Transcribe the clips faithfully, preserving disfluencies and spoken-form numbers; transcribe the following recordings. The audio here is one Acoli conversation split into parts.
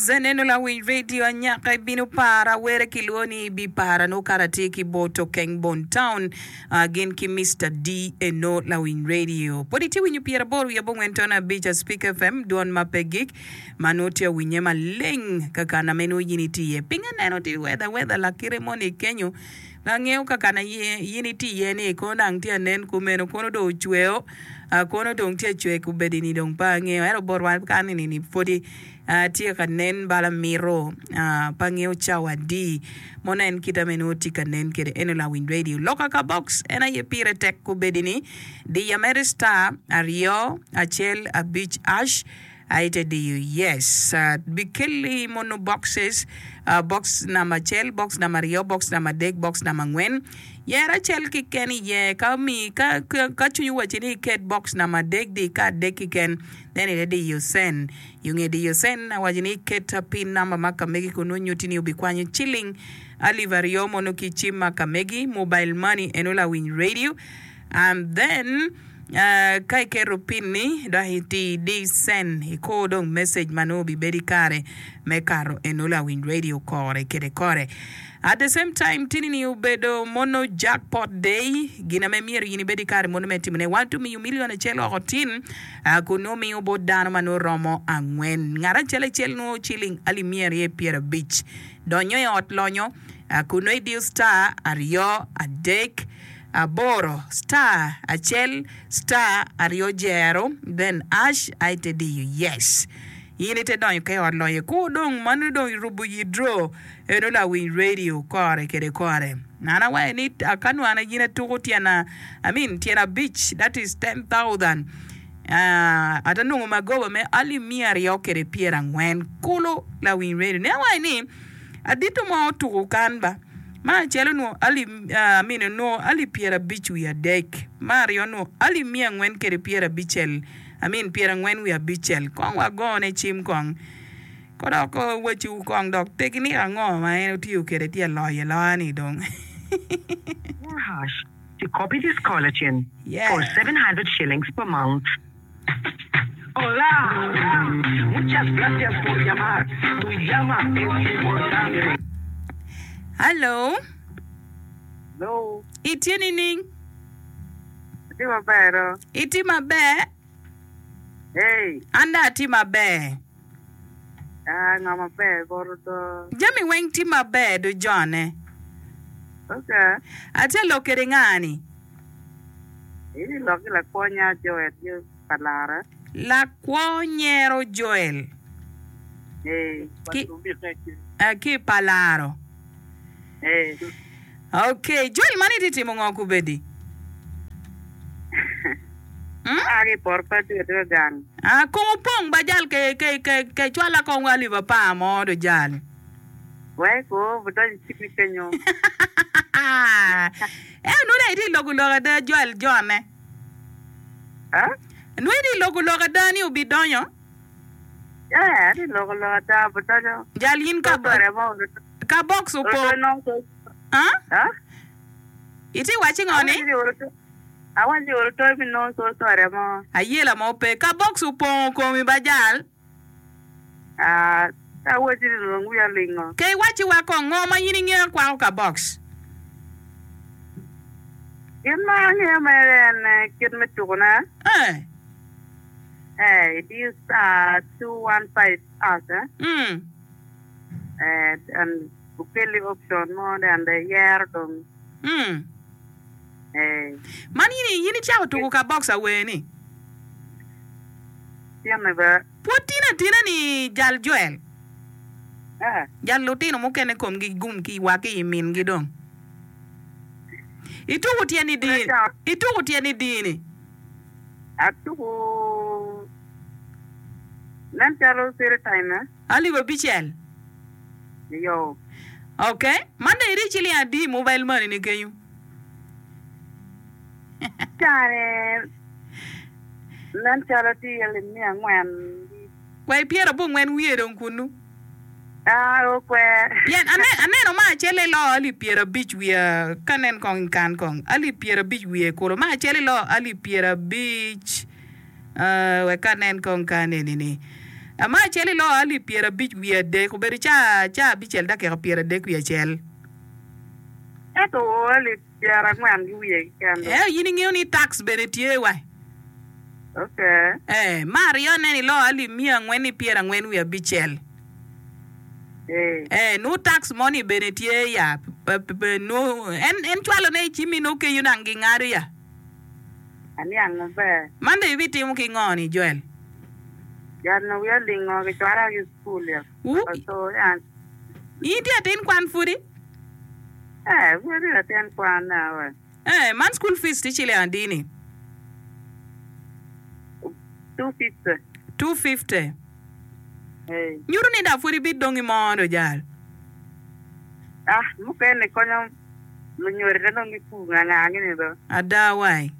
Zeneno lawiny radio anyaka ibino para were ki lwo ni ibi para nongo kara tye ki bot okeng bon town uh, gin ki Mister D eno lawiny radio pwod itye winyo pyera aboro wiye abongwen ton abic a Speak F M dwon ma pe gik ma nongo tye awinye maleng kakana me nongo yin itye iye piny aneno tye weather weather lakite moni kenyo Angeyo kaka na in itye iye ni kono dang tye anen kumeno kono dong ocweo kono dong tye acwe kubedi ni dong pe angeyo ento botwa kan eni ni pwodi tye ka nen bala mito pe angeyo cawa adi mono en kite me nongo tye ka nen kwede eno lawiny radio loka ka box en aye pire tek kubedi ni diya mere star aryo acel abic ash Aye te diyo yes. Bikelli mono boxes, box namba acel, box namba aryo, box namba adek, box namba angwen. Yer acel kiken iye. Ka omi, ka, ka cwinyi owacci ni iket box namba adek, di ka adek kiken. Then ite diyo send. I nge diyo send, awaco ni iket pin namba ma ka megi kun nongo nyutti ni obikwanyo ciling alip aryo mono ki cim ma ka megi, mobile money eno lawiny radio. And then ka iketo pin ni dok iti di send ikur dong message ma nongo obibedo ikare me kato eno lawiny radio kore kede kore. At the same time tini ni obedo mono jackpot day gin ame myero in ibed ikare mono me timone wan to miyo million acel oko tin kun nongo miyo bot dano ma nongo romo angwen ngat acel acel nongo ciling alip miya aryo pyera abic donyo i ot lonyo kun nongo idiyo star aryo adek aboro star acel star aryo jero then ash aye te diyo yes in ite donyo ka i ot lonyo kur dong mano dong irubo yidro eno lawiny radio kore kede kore an awaco ni ka nwana in atuko tyena I mean tyena abic that is ten thousand ata nongo magoba me alip miya aryo kede pyera angwen kulu lawiny radio ne awaco ni Adito mo otuko kan ba. Me acel onwongo alip, I mean onwongo alip pyerabic wiye adek. Me aryo onwongo alip miya angwen kede pyerabicel, I mean pyerangwen wiye abicel. Kong wagone cim kong. Ko dok waciwu kong dok tekinik ango ma en otiyo kede tye aloyo aloya ni dong. More hash to copy this caller tune Yeah. for seven hundred shillings per month. Hello. Hello. Itye nining? Atye maber do. Itye maber? Hey. An dong atye maber. Ah, ngo maber bot do. Jami weng tye maber do jone. Okay. Atye lok kede nga ni? Itye lok ki lakwonya Joel ki pa Lara. Lakwo nyero Joel Ee. ki ki pa Laro. Ee. Ok, Joel man itye timo ngo kubedi? Hmm? Aa ki i poto pe atye ka gang. Ah, kong opong ba jal ke ke ke ke cwala kong alip apar mo do jal. Wek ko budonyo i cimi kenyo. Ento nongo dong itye i loko lok ada Joel jone. Ah? Nongo itye i loko lok ada ni obidonyo? Eh, atye i loko lok ada obidonyo. Jal in ka ka box opong. Ah? Ah? Itye wacci ngo ni? Awaco ni olo toyo mi nongo so sore mo. Ayela mo pe. Ka box opongo komi ba jal. Ah, ka awaci ni dong wiya lingo. Ka iwacci wa kong, ngo ma in ingeyo kwako ka box? Gin ma angeyo mere en kit me tukone. Eh. Eh, idiyo star two one five hash eh. Mm. Eh, and okelli option mo then dong iyero dong. Mm. Eh. Man in, in icako tuko ka box awer-ni? Tine bene. Pwod tino atina ni jal Joel. Eh. Jal lutino mukene komgi gum ki wa ki i mingi dong. Ituko tyen i dini? Ituko tyen i dini? Atuko nen calo three time eh. Alip abicel. Iyo. Ok. Man dong iri ciling adi i mobile money ni kenyo? Cane nen calo tye iye lim miya angwen. Wek pyerabongwen wiye dong kunnu. Ah, okwer. Pien aneno ma acel iloo alip pyerabic wiye, ka nen kong i kan kong, alip pyerabic wiye kulu, ma acel iloo alip pyerabic, uh, wek anen kong ka aneni ni. Ma acel iloo alip pyerabic wiye adek, obedo ca ca abicel dakika pyeradek wiye acel. Ento oo alip pyerangwen ki wiye keken do. Ento in ingeyo ni tax bene tye wa. Okay. Ee, me aryone iloo alip miya angwen ki pyerangwen wiye abicel. Ee. Ee, nongo tax moni bene tye ya. Nongo en en cwalone i cimmi nongo kenyo dang gingado ya. Aniang maber. Man dong ibitimo ki ngo ni Joel? Jal-nu wiya olingo kicwala ki i cukul ya. Wu, Oto ya. in tye atin kwan pudi? Ee, pud atye latin kwan na we. Ee, man school fees tye ciling adi ni? Two fifty. Two fifty. Ee. Nyuto ni dok pud ibidong i mo do jal. Ah, mukene konyo lunyodo dong gipur nganga gini do. Ada wai.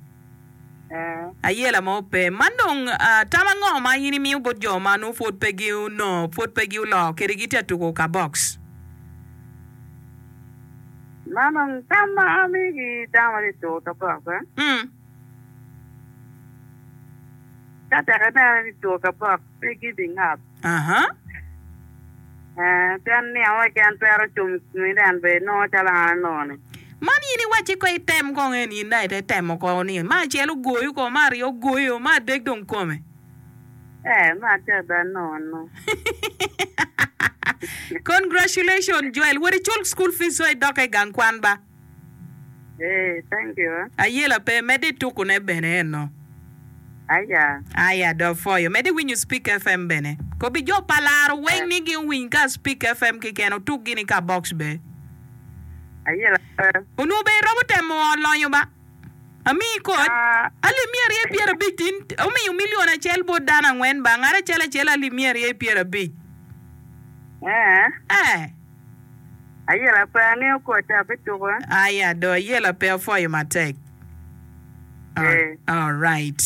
Ee. Ayela mo pe. Man dong tam ango ma in imiyo bot jo ma nongo pwod pe ginongo, pwod pe gioloo kede gitye ka tuko ka box? Man dong tam ma amiyo ki dano ma tye ka tuko ka box eh? Mm. Ka tek ineno ni tuko ka box pe giving up. Aha. Eh, pien nino mo keken twero cung i komi en bene inongo calo an anongo-ni. Man in iwacci ko item kong en in dong ite temo ko ni me acel ogoyo ko, me aryo ogoyo, me adek dong kome. Eh, me adek dong anongo no. Congratulations Joel, wot icul school fees so idok i gang kwan ba. Eh, thank you. Eh. Ayela pe, medde itukune bene eno. Aya. Aya do pwoyo. Medde iwinyo Speak FM bene. Kobi jo pa laro weng Eh, ni gin owiny ka Speak FM keken otuk gini ka box be. ayela pe. Onongo be iromo temo lonyo ba? Amii koc. Ah, Alip miya aryo pyerabic tin omiyo milion acel bot dano angwen ba? Ngat acel acel alip miya aryo pyerabic. eh, Eh. ayela pe angeyo koc abituko. eh. Aya do ayela pe apwoyo matek. All, Eh, all right.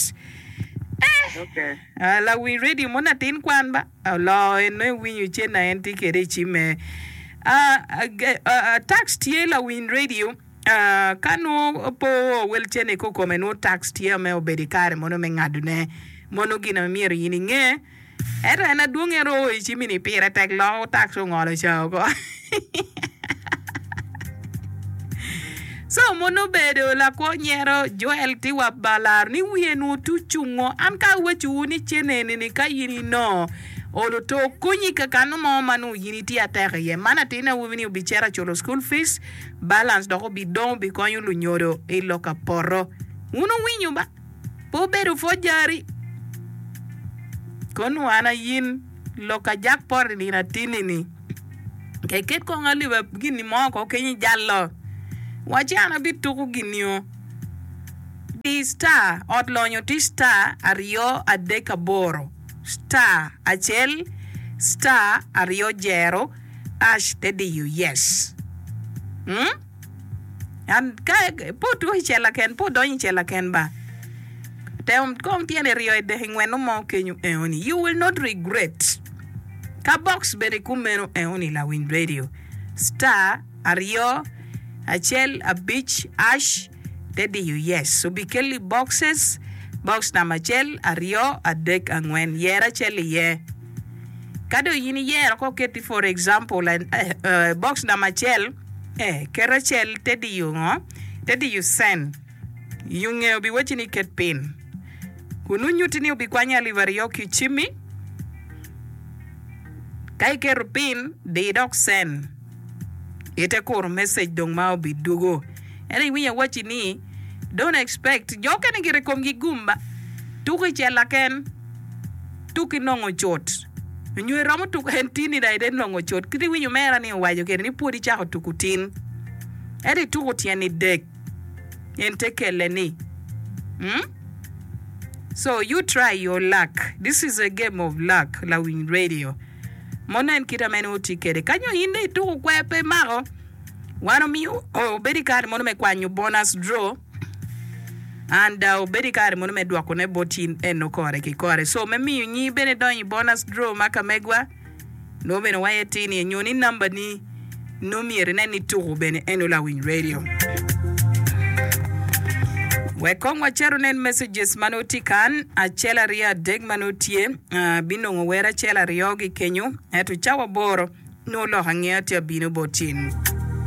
Eh, okay. uh, lawi radio mo latin kwan ba olo en nongo iwinyo cen na en tye kwede i cimme. Uh, uh, uh, tax tye lawiny radio uh, ka nongo po wel cene kikome nongo tax tye me obedo i kare mono me ngadone mono gin ma myero in inge ento en adwong en oo i cimmi ni pire tek loko tax ongolo ca oko. So mono obedo lakwo nyero Joel tye wa balaro ni wiye nongo tye ocungo an ka awacowu ni cen eni ni ka in inongo olo to konyi kakano mo ma nongo in itye atek iye man atin awobi ni obicito aculo school fees balance dok obidong obikonyo lunyodo i lok ka poto wun owinyo ba pe obedo pwod jari kono an ayin lok ka jackpot i nino atini ni keket kong alip gini mo ko kenyo ijalo waci an abituko ginio di star ot lonyo tye star aryo adek aboro star acel star aryo jero ash te diyo yes mm? An ka pe otuko i cel laken pe odonyo i cel laken ba tem kong tyene ryo edek ingweno mo kenyo eoni you will not regret ka box bene kumeno eoni lawiny radio star aryo acel abic ash te diyo yes obikelli boxes box namba acel aryo adek angwen yer acel iye ka dong in iyero ko keti for example eh, eh, box namba acel eh, ket acel te diyo ngo te diyo send yunge obiwacci ni ket pin kun unyutti ni obikwanyo alip aryo ki i cimmi ka iketo pin di dok send ite kuro message dong ma obidugo ento iwinyo awacci ni don't expect jo okene gire komgi gum ba tuko i cel laken tuk inongo cut nyo iromo tuko en tini da ite nongo cut kit iwinyo mera ni owaco kede ni pwod icako tuko tin ento ituko tyen idek en te kele ni mm? So you try your luck this is a game of luck lawiny radio mono en kit ame nongo tye kede kanyo in dong ituko kwer pe imako wan omiyo obedo i kare mono me kwanyo bonus draw and uh, obedo i kare mono me dwokone bot in eno kore ki kore so me miyo nyi bene donyo i bonus draw ma ka megwa nongo bene waye tini nyo ni namba ni nongo myero inen ni tuko bene eno lawiny radio Wek kong wacer onen messages ma nongo tye kan, acel aryo adek ma nongo tye, binongo wer acel aryo ki kenyo, ento cawa aboro nongo lok angeya tye abino bot cin.